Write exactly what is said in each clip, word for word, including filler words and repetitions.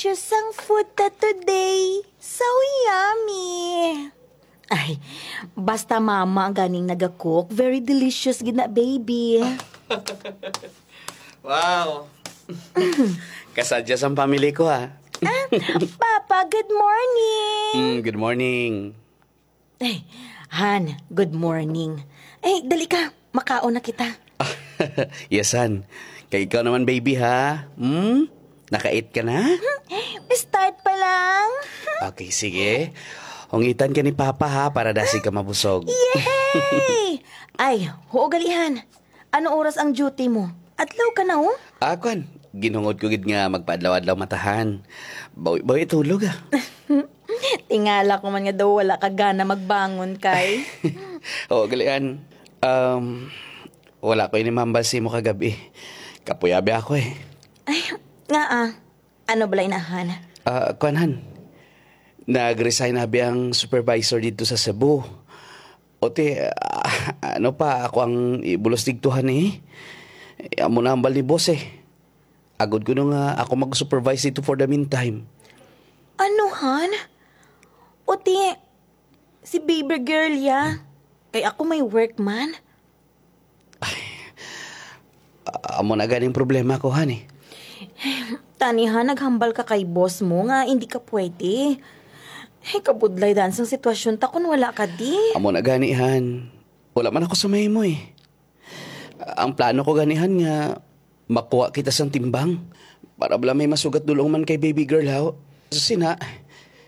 Just ang food ta today. So yummy. Ay, basta mama ang ganing nagacook, very delicious gid na, baby. Wow. Kasadya sang family ko, ha? Ah, Papa, good morning. Mm, good morning. Ay, Han, good morning. Ay, dali ka, makaon na kita. Yes, Han. Kay ikaw naman, baby, ha? Hmm? Nakait ka na? Start pa lang. Okay, sige. Hungitan ka ni Papa, ha, para dasi ka mabusog. Yay! Ay, huo gali, Han. Ano oras ang duty mo? Adlaw ka na, oh. Ah, kwan, ginhungod ko gid nga magpaadlaw-adlaw mata, Han. Bawi-bawi tulog, ah. Tingala ko man nga daw wala ka gana magbangon, kay. Oo, gali, Han. Um, wala ko ini mambal sa imo kagabi. Kapuyabi ako, eh. Ay, nga ah. Ano bala ina, Han? Ah, kwan, Han. Nag-resign abi ang supervisor dito sa Cebu. O ti, ah, ano pa, ako ang ibulos digtuhan, eh. Eh, amo na ang hambal ni boss, eh. Agod ko nga ako mag-supervise dito for the meantime. Ano, Han? O ti, si baby girl ya. Kay ako may work man. Ah, amo na ganing problema ko, Han, eh. Tani, Han, naghambal ka kay boss mo nga hindi ka pwede. Ay, kabudlay dan sang sitwasyon ta kung wala ka di. Amo na gani, Han. Wala man ako sa mahimo, eh. Ang plano ko gani, Han, nga makuha kita sang timbang para bala may masugat dulong man kay baby girl, haw. Sa sina,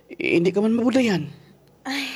hindi ka man mabudlayan. Ay,